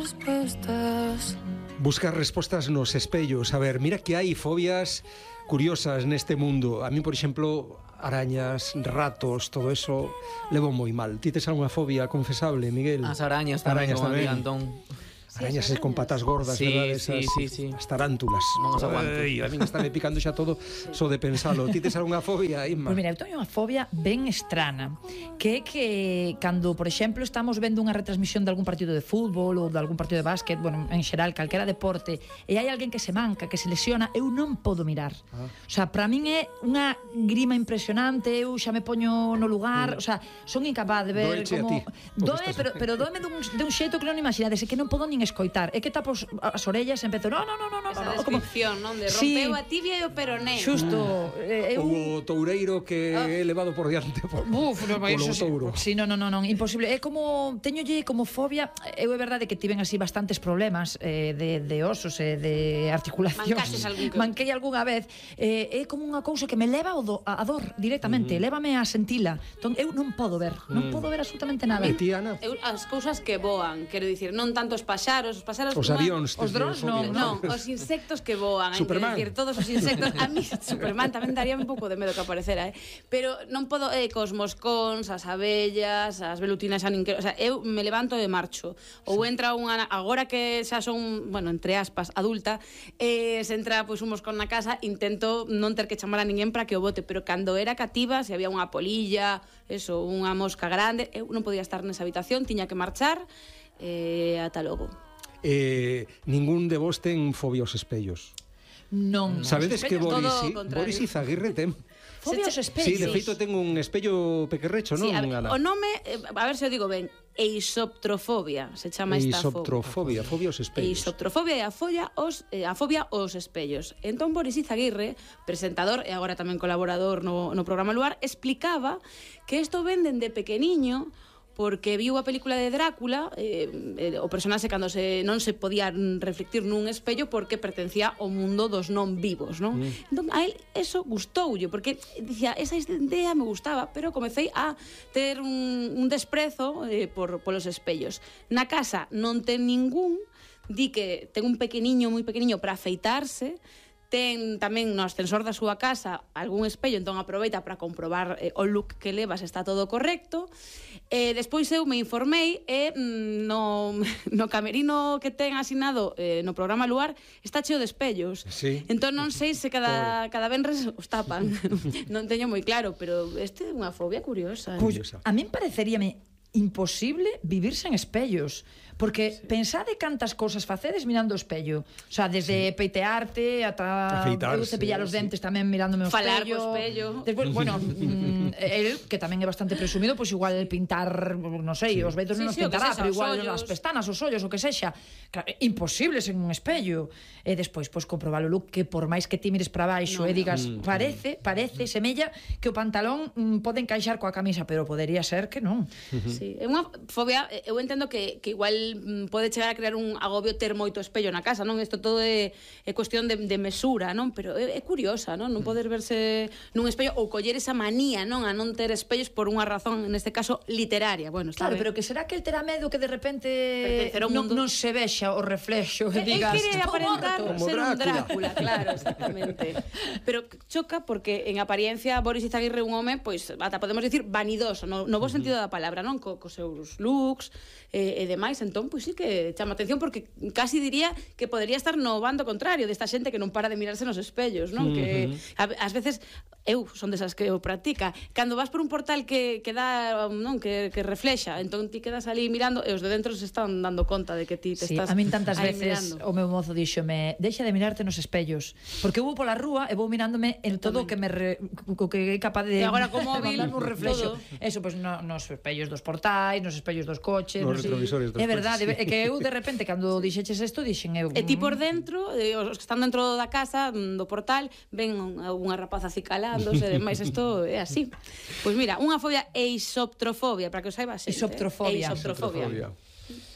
respuestas. Buscar respostas nos espellos. A ver, mira que hai fobias curiosas neste mundo. A mí, por exemplo, arañas, ratos, todo eso levo moi mal. Ti tes algunha fobia confesable, Miguel? As arañas tamén, como tamén. Antón. Arañas con patas gordas, Sí, verdad? sí. As tarántulas. Non as aguanto. Ai, a mí está me picando xa todo só de pensalo. Ti tes algunha fobia, Inma? Pois mira, eu teño unha fobia ben estrana, que é que cando, por exemplo, estamos vendo unha retransmisión de algún partido de fútbol ou de algún partido de básquet, bueno, en xeral, calquera deporte, e hai alguén que se manca, que se lesiona, eu non podo mirar. O sea, para min é unha grima impresionante, eu xa me poño no lugar, o sea, son incapaz de ver Doeche como... a ti, Doe, pero doeme dun xeito que non imaginades, é que non podo nin escoitar, é que tapo as orellas e empezo, no, esa como... descripción, non? De Sí. rompeu a tibia e o peroné. Xusto, eu... O toureiro que é levado por diante por, Uf, no, polo eso touro. sí, non, imposible. É como teñolle como fobia, eu é verdade que tiven así bastantes problemas de osos e de articulacións. Mancaches algún que... Manquei algunha vez. É como unha cousa que me leva a dor directamente, lévame a sentila. Entón eu non podo ver, non podo ver absolutamente nada. E ti, Ana? As cousas que voan, quero dicir, non tanto os paxaros Os avións. Os drons non, non, os insectos que voan, hai que Superman. decir, todos os insectos. A mí Superman tamén daría un pouco de medo que aparecera, pero non podo cos moscóns, as abellas, as velutinas, o sea, eu me levanto e marcho. Ou entra unha, agora que xa son, bueno, entre aspas, adulta, se entra pois un moscón na casa, intento non ter que chamar a ninguén para que o bote, pero cando era cativa, se había unha polilla, eso, unha mosca grande, eu non podía estar nesa habitación, tiña que marchar, ata logo. Ningún de vos ten fobia aos espellos. Non. Sabedes que Todo Boris, o contrario. Boris Izaguirre ten? Fobia aos espellos. Sí, de feito ten un espello pequerrecho, non, Sí, Ana? o nome, a ver se o digo ben, eisoptrofobia, se chama esta Eisoptrofobia, fobia aos espellos. Eisoptrofobia é a fobia aos espellos. Entón Boris Izaguirre, presentador e agora tamén colaborador no programa Luar, explicaba que isto ven dende pequeniño porque viu a película de Drácula, o personaxe cando non se podía reflectir nun espello porque pertencía ao mundo dos non vivos, non? Entón, a él eso gustoulle, porque dicía, esa idea me gustaba, pero comecei a ter un desprezo polos espellos. Na casa non ten ningún, di que ten un pequeniño, moi pequeniño para afeitarse, ten tamén no ascensor da súa casa algún espello, entón aproveita para comprobar o look que leva, se está todo correcto. Despois eu me informei e no camerino que ten asignado no programa Luar está cheo de espellos. Sí. Entón non sei se cada venres os tapan. Non teño moi claro, pero este é unha fobia curiosa. Curiosa. A min pareceríame imposible vivir sen espellos, porque pensade cantas cousas facedes mirando o espello, o sea, desde peitearte ata afeitarse, eu cepillar os dentes tamén mirándome o Falar espello. co espello. Despois, bueno, el que tamén é bastante presumido, pois igual pintar, non sei, os vellos non os Sí, o que pintará, sexa, pero os igual ollos. as pestanas, os ollos, o que sexa. Claro, imposible sen un espello. E despois, pois comprobar o look que por máis que ti mires para baixo e digas, parece, semella que o pantalón pode encaixar coa camisa, pero podería ser que non. Sí, é unha fobia, eu entendo que igual pode chegar a crear un agobio ter moito espello na casa, non? Isto todo é cuestión de mesura, non? Pero é curiosa, non? Non poder verse nun espello ou coller esa manía, non? A non ter espellos por unha razón, neste caso, literaria. Bueno, está Claro, ben. pero que será que el terá medo que de repente Pertencer ao mundo. non se vexa o reflexo e digas, Él quere "Estou aparentar morto". ser un Drácula. Drácula, claro, exactamente. Pero choca porque en apariencia Boris Izaguirre é un home, pois, ata podemos dicir vanidoso, no bo sentido da palabra, non? Cos seus looks e demais, entón, pois sí que chama atención porque casi diría que podería estar no bando contrario desta xente que non para de mirarse nos espellos, non? Que ás veces eu son desas que o practica. Cando vas por un portal que dá, non, que reflexa, entón ti quedas ali mirando e os de dentro se están dando conta de que ti te Sí, estás a min tantas aí veces mirando. o meu mozo díxome, deixa de mirarte nos espellos, porque eu vou pola rúa e vou mirándome en todo o que o que é capaz de E agora co móvil, mandarme un reflexo. todo. Eso, pois nos espellos dos portais, nos espellos dos coches, Nos sí. retrovisores dos É verdade, coches, sí. é que eu de repente cando dixeches isto dixen eu. E ti por dentro, os que están dentro da casa, do portal, ven unha rapaza acicalándose e demais, isto é así. Pois mira, unha fobia eisoptrofobia, para que o saiba xente. Eisoptrofobia. Eisoptrofobia.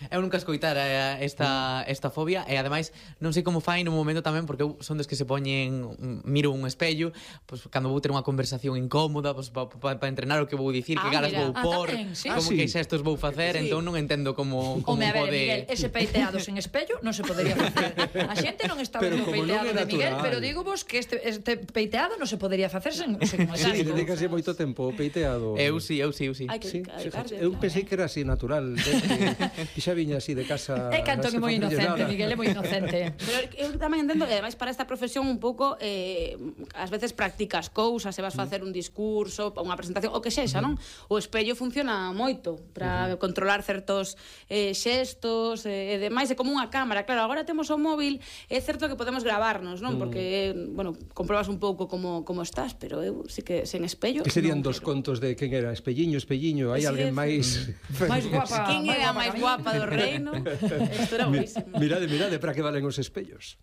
Eu nunca escoitara esta fobia e ademais non sei como fai no momento tamén, porque eu son dos que se poñen, miro un espello, pois cando vou ter unha conversación incómoda, pois para entrenar o que vou dicir, que caras vou por, como que xestos vou facer, entón non entendo como Home, a ver, pode... Miguel, ese peiteado sen espello non se podería facer. A xente non está vendo o peiteado de Miguel, pero digo vos que este peiteado non se podería facer sen Sí, dedicase moito tempo o peiteado. Eu sí. Hai que dedicarse, Eu pensei que era así natural, que xa viña así de casa. É que Antón é moi inocente, Miguel é moi inocente. Pero eu tamén entendo, e ademais para esta profesión un pouco ás veces practicas cousas, se vas facer un discurso, unha presentación, o que sexa, non? O espello funciona moito para controlar certos xestos e demais, é como unha cámara. Claro, agora temos o móvil, é certo que podemos gravarnos, non? Porque, bueno, comprobas un pouco como estás, pero eu sí que sen espello... Que serían dos contos de quen era? Espelliño, hai alguén máis... máis guapa. Quen era a máis guapa do reino? Isto era buenísimo. Mirade, para que valen os espellos.